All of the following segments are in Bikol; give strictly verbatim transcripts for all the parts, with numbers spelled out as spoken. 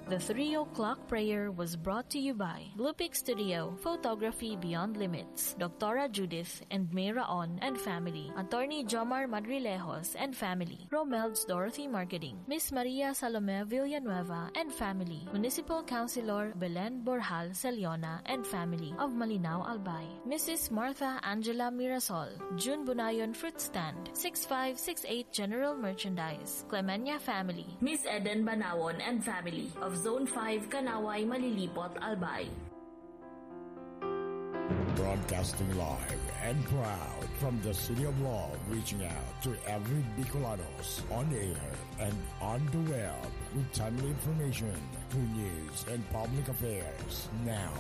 The three o'clock prayer was brought to you by Blue Peak Studio, Photography Beyond Limits, Doctora Judith and May Raon and family, Attorney Jomar Madrilejos and family, Romel's Dorothy Marketing, Miss Maria Salome Villanueva and family, Municipal Councilor Belen Borjal Celiona and family of Malinao, Albay, Missus Martha Angela Mirasol, June Bunayon Fruit Stand, six five six eight General Merchandise, Clemenia family, Miss Eden Banawon and family of Zone five, Kanaway, Malilipot, Albay. Broadcasting live and proud from the City of Love, reaching out to every Bicolanos on air and on the web with timely information, true news, and public affairs. Now,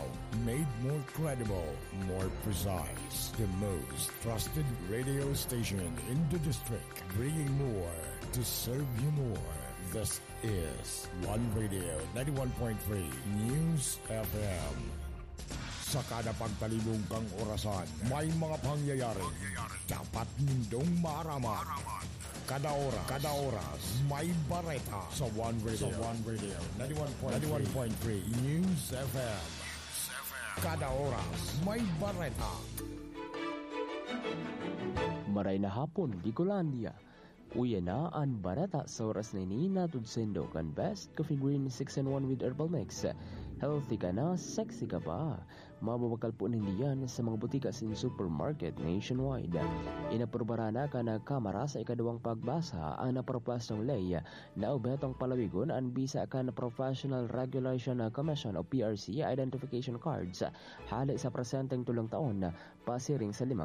made more credible, more precise, the most trusted radio station in the district, bringing more to serve you more. This is One Radio ninety-one point three News F M. Sa kada pagtalibong kang orasan, may mga pangyayari dapat nindong maaraman. Kada oras, kada oras, may bareta sa One Radio. Sa One Radio, ninety-one point three News F M. Kada oras, may bareta. Maray na hapon, Bicolandia. Uya na an bareta sa oras na ini, hatod saindo kan Best Coffee Green six in one with Herbal Mix. Healthy ka na, sexy ka pa. Mababakal po ninda yan sa mga butika asin supermarket nationwide. Inaprubaran na kan Kamara sa ikaduwang pagbasa an napropuestong ley na obhetong palawigon an bisa kan Professional Regulation Commission o P R C identification cards hale sa presenteng tulong taon pasiring sa lima